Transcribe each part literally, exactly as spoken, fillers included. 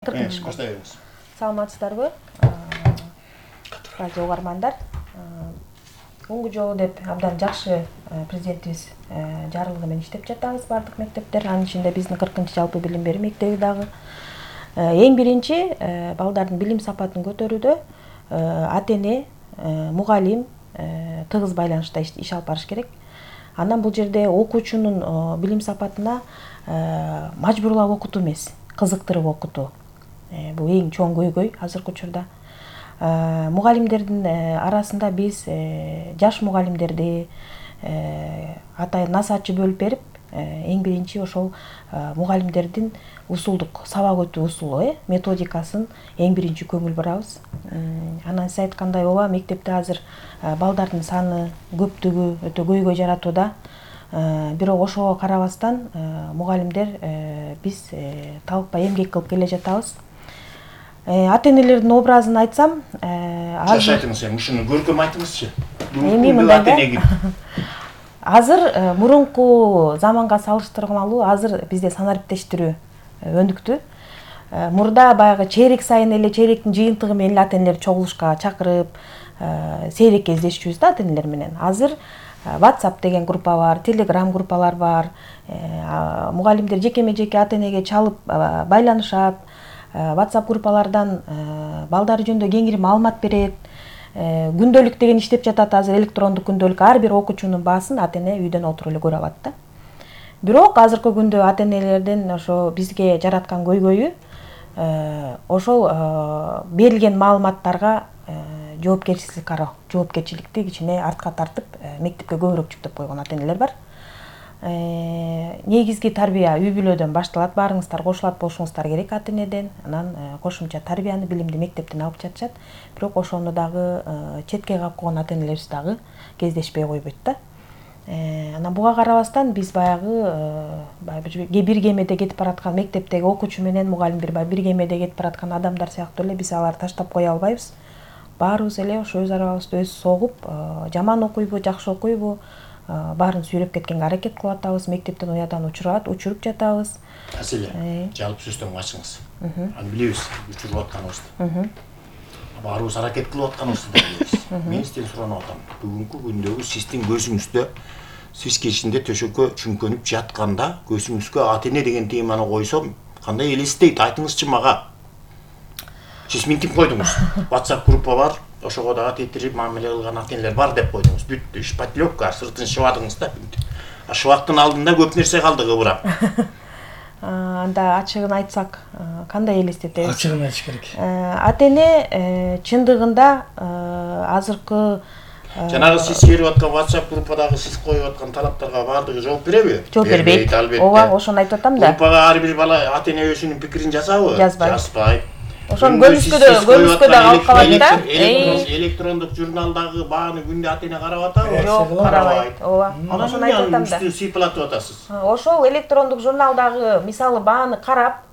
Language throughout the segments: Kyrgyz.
кыркынчы баштайбыз. Саламатсыздарбы? Радио угармандар. Муңгу жолу деп абдан жакшы президентибиз жарылыгы менен иштеп жатабыз бардык мектептер. Анын ичинде биздин кыркынчы жалпы билим берүү мектеби дагы. Эң биринчи балдардын билим сапатын көтөрүүдө ата-эне, мугалим тыгыз байланышта иш алып барыш керек. Андан бул жерде окуучунун билим сапатына мажбурлап окутуу эмес, кызыктырып окутуу. Бул эң чоң көйгөй азыркы учурда. Мугалимдердин арасында биз жаш мугалимдерди атайын насаатчы бөлүп берип, эң биринчи ошол мугалимдердин усулдук сабак өтүү усулу, методикасын эң биринчи көңүл бурабыз. Анан сиз айткандай ооба, мектепте азыр балдардын саны, көптүгү өтө көйгөй жаратууда. Бирок ошого карабастан мугалимдер биз талыкпай эмгек кылып келе жатабыз. Ата-энелердин образын айтсам, азыр айтыңыз, ушуну көркөм айтыңызчы. Эми мындай азыр мурунку заманга салыштырмалуу азыр бизде санариптештирүү өнүктү. Мурда баягы чейрек сайын эле чейректин жыйынтыгы менен эле ата-энелерди чогулушка чакырып, сейрек кездешчүбүз да ата-энелер менен. Азыр WhatsApp деген группа бар, Telegram группалар бар. Мугалимдер жекеме-жеке ата-энеге чалып байланышат. WhatsApp группалардан балдары жөнүндө кеңири маалымат берет. Күндөлүк деген иштеп жатат азыр, электрондук күндөлүк. Ар бир окуучунун баасын ата-эне үйдөн отуруп эле көрө алат да. Бирок азыркы күндө ата-энелердин ошо бизге жараткан көйгөйү ошол берилген маалыматтарга жоопкерчилик кароо, жоопкерчиликти кичине артка тартып, мектепке көбүрөөк жүктөп койгон ата-энелер бар. Негизги тарбия үй бүлөдөн башталат. Баарыңыздар кошулат болушуңуздар керек ата-энеден. Анан кошумча тарбияны, билимди мектептен алып жатышат. Бирок ошону дагы четке калып койгон ата-энелерибиз дагы кездешпей койбойт да. Анан буга карабастан биз баягы бир кемеде кетип бараткан мектептеги окуучу менен мугалим бир бир кемеде кетип бараткан адамдар сыяктуу эле биз аларды таштап кое албайбыз. Баарыбыз эле ошо өз арабызда өз согуп, жаман окуйбу, жакшы окуйбу, баарын сүйрөп кеткенге аракет кылып атабыз. Мектептен уядан учурат, учуруп жатабыз. Маселе, жалпы сөздөн качыңыз. Аны билебиз, учуруп атканыбызды. Баарыбыз аракет кылып атканыбызды да билебиз. Мен сизден суранып атам. Бүгүнкү күндөгү сиздин көзүңүздө, сиз кечинде төшөккө чүңкөнүп жатканда, көзүңүзгө ата-эне деген теманы койсом, кандай элестейт? Айтыңызчы мага. Сиз минтип койдуңуз. WhatsApp группа бар, ошого дагы тетирип мамиле кылган ата-энелер бар деп койдуңуз. Бүттү, шпатлёвка, сыртын шыбадыңыз да. А шыбактын алдында көп нерсе калды кыбырап. Анда ачыгын айтсак, кандай элестетебиз? Ачыгын айтыш керек. Ата-эне чындыгында азыркы жанагы сиз берип аткан WhatsApp группадагы сиз коюп аткан талаптарга баардыгы жооп береби? Жооп бербейт. Ооба, ошону айтып атам да. Группага ар бир бала ата-эне өзүнүн пикирин жазабы? Жазбайт. Жазбайт. Ошону көрүскөдө, көрүскөдө калып калат да. Электрондук журналдагы бааны күндө ата-эне карап атабы? Жок, карабайт. Ооба. Ошону айтып атам да. Үстүн сыйпылатып атасыз. Ошол электрондук журналдагы мисалы бааны карап,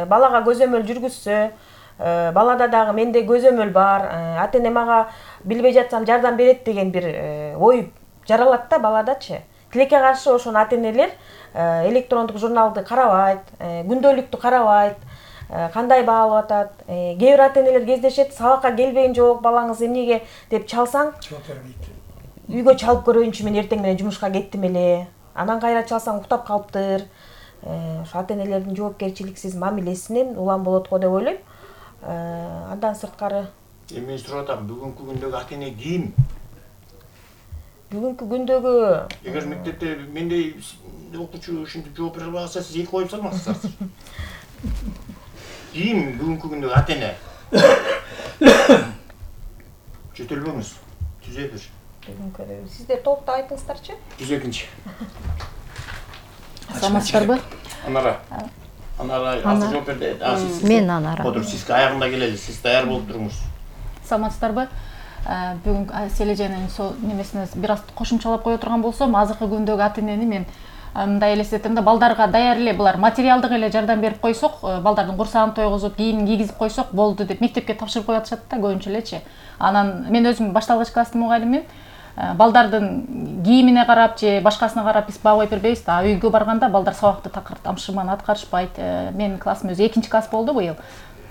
балага көзөмөл жүргүзсө, балада дагы менде көзөмөл бар, ата-эне мага билбей жатсам жардам берет деген бир ой жаралат да баладачы. Тилекке каршы ошону ата-энелер электрондук журналды карабайт, күндөлүктү карабайт. Кандай баалап атат? Кээ бир ата-энелер кездешет, сабакка келбейин жок, балаңыз эмнеге деп чалсаң, жооп бербейт. Үйгө чалып көрөйүнчү, мен эртең менен жумушка кеттим эле. Анан кайра чалсаң уктап калыптыр. Ошо ата-энелердин жоопкерчиликсиз мамилесинен улам болот го деп ойлойм. Андан сырткары эми мен сурап атам, бүгүнкү күндөгү ата-эне ким? Бүгүнкү күндөгү эгер мектепте мендей окуучу ушинтип жооп бере албаса, сиз эки коюп салмаксыздар. Ким бүгүнкү күндөгү ата-эне? Жөтөлбөңүз. Түзө бир. Бүгүнкү сиздер толуктап айтыңыздарчы. жүз экинчи. Саламатсыздарбы? Анара. Анара, азыр жооп берди. Мен Анара. Отуруп, сиз аягында келели, сиз даяр болуп туруңуз. Саламатсыздарбы? Бүгүн Сележенин сол немесине бир аз кошумчалап кое турган болсом, азыркы күндөгү ата-энени мен мындай элестетем да, балдарга даяр эле булар материалдык эле жардам берип койсок, балдардын курсагын тойгузуп, кийимин кийгизип койсок болду деп мектепке тапшырып коюп атышат да көбүнчө элечи. Анан мен өзүм башталгыч класстын мугалимимин. Балдардын кийимине карап же башкасына карап биз баа коюп бербейбиз да. Үйгө барганда балдар сабакты такыр тамшыман аткарышпайт. Менин классым өзү экинчи класс болду быйыл.